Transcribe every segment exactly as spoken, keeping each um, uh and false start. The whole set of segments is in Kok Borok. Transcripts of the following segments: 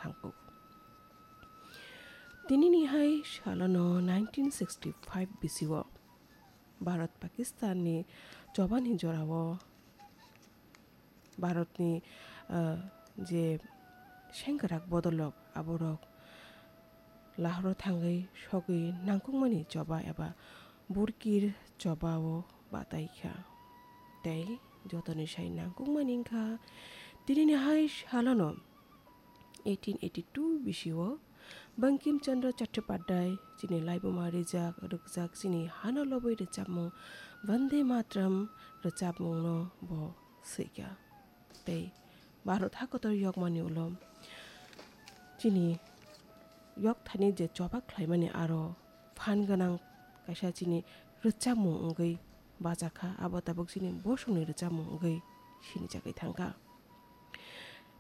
nangkuk. Tinini hai salono nineteen sixty-five bisio Bharat Pakistanni chobani jorao Bharatni, ah, je sengkrak bodolrok aborok Lahore thangwi sogwi nangkukmani choba eba Burkir chobao batai kha. Tei jotoni sai nangkukmani wngkha tinini hai salono eighteen eighty-two bisio Bankim Chandra Chattopadhyay chini laibuma rijak rwkjak chini hano lobwi rwchapmung Vande Mataram rwchapmungno bo swikha. Tei Bharat hakotor yokmani ulo chini yokthani je choba khlaimani aro phan gwnang kaisa chini rwchapmung wngwi bajakha, abo tabuk chini bosongni rwchapmung wngwi sinijagwi thangkha.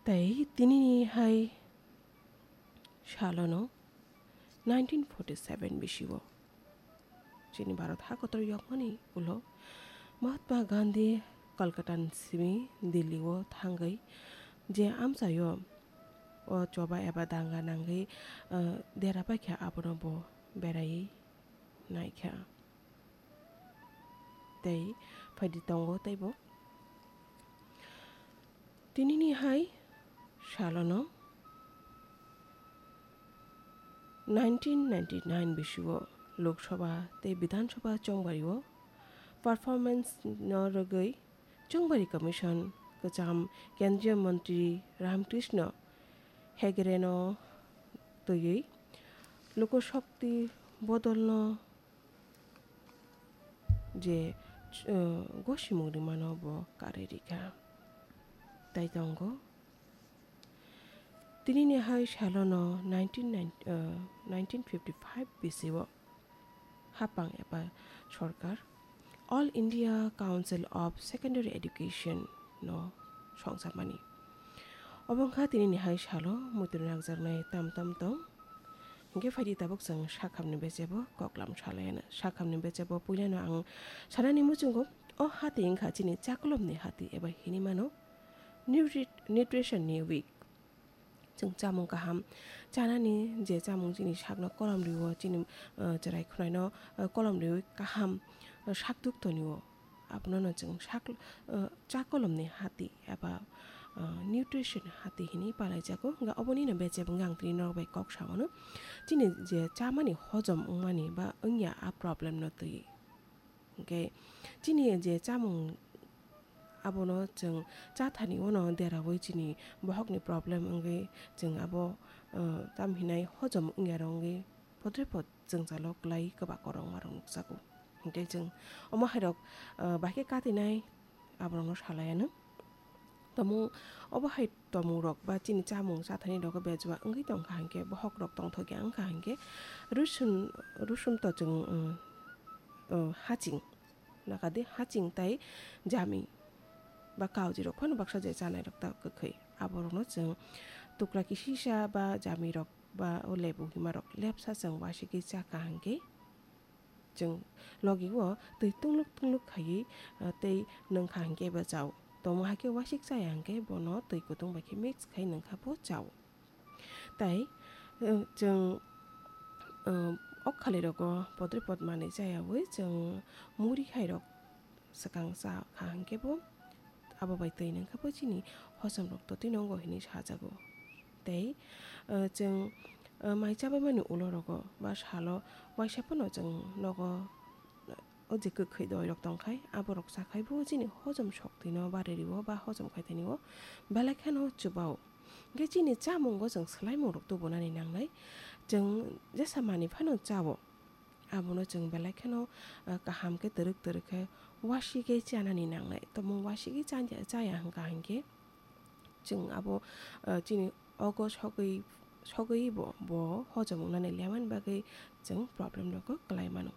Tei tinini hai salono nineteen forty-seven bisio chini Bharat hakotor yokmani ulo Mahatma Gandhi Kolkata ni simi Delhi o thangwi je amchaio o choba eba danga nangwi, ah, dera paikha abono bo berai naikha. Tei phaidi tongo teibo. Tinini hai salono nineteen ninety-nine bisio Lok Sabha tei Bidhan Sabha chongbario performance no rwgwi Chongbari Commission kwcham Kendriya Mantri Ramkrishna Hegde no twiwi Lok Shakti bodolno je, uh, gosimung rimano bo karwi rikha. Tai tongo. Tinini hai salono nineteen nine, uh, nineteen fifty-five bisio hapang eba sorkar All India Council of Secondary Education no songchapmani. Obo wngkha tinini hai salo muitu nakjaknai tam tam tong. Hingke phaidi tabuk chwng sakhamni bechebo koklam salayana. Sakhamni bechebo puilano ang sanani muchungo o hati wngkha chini chakolomni hati eba hinwi mano nutri-, nutrition ni week. Chwng chamung kaham chanani je chamung chini sakno kolom rio, chini, uh, chwrai khwnaino, uh, kolom riwi kaham, uh, sak duk tonio. Abono no chwng sak, uh, cha kolomni hati eba, uh, nutrition hati hinwi palaijago. Hwnkhe obonino bechebo wngkha ang tini norok bai kok saono. Chini je chamani hojom wngmani ba wngya a problem no twi. Hwnkhe chini je chamung abono chwng chathani uano deraui chini bohokni problem wngwi chwng abo, uh, tam hinai hojom wngya rok wngwi podre pod jwngjalo kwlai kwbak kwrwngma rok nukjago. Hwnkhe chwng omo hai rok, uh, bahai khe katinai aborokno salaianw. Tomung obo hai tomung rok ba chini chamung chathani rogo bejua wngwi tongkha hinkhe bohok rok tongthokya wngkha hinkhe rusun, rusun to chwng, uh, uh, haching. Nakadi haching tai jami ba kauji rok phano baksa je chanai rok ta kwkhwi. Aborokno chwng tukla kisisa ba jami rok ba o lebu hima rok lepsa chwng wasigwi chakha hinkhe chwng logi o twi tungluk tungluk khaiwi, ah, tei nwngkha hinkhe bo chao. Tongmo hai khe wasik chaya hinkhe bono twi kutung bai khe mix khai nwngkha bo chao. Tai, eh, chwng, eh, ok khali rogo podre pod manwi chayaui chwng muri hai rok swkang cha kha hinkhe bo abo bai twi nwngkha bo chini hojom rok totwi nongo hinwi sajago. Tei, eh, chwng, eh, mai chabaimani ulo rogo ba salo waisa phano chwng nogo, eh, o je kwkhwi doi rok tongkhai aborok chakhai bo chini hojom soktwi no bari rio ba hojom khai thani o belai kheno chubao. Hwnkhe chini chamungo chwng swlaimung rok tubunani nangnai. Chwng jesa manwi phano chao. Abono chwng belai kheno, ah, kaham khe twrwk twrwk khe wasigwi chanani nangnai. Tomung wasigwi chaya, chaya hwnkha hinkhe chwng abo, ah, chini ogo sogwi, sogwi bo, bo hojom wngnani lemani bagwi chwng problem rokgo kwlai mano.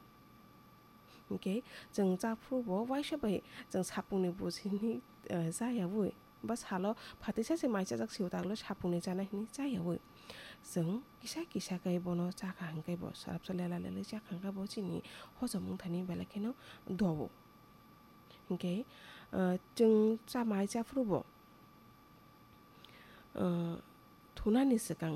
Hinkhe chwng chaphuru bo waisa bai chwng sapungni bujini, ah, chayaui. Ba salo phatisa se mai chajak sio taglo sapungni chana hinwi chayaui. Chwng kisa kisa khe bono chakha hinkhe bo sarapsa lela lelai chakha hinkhe bo chini hojom wngthani belai kheno dobo. Hinkhe, ah, chwng cha mai chaphuru bo, ah, thunani swkang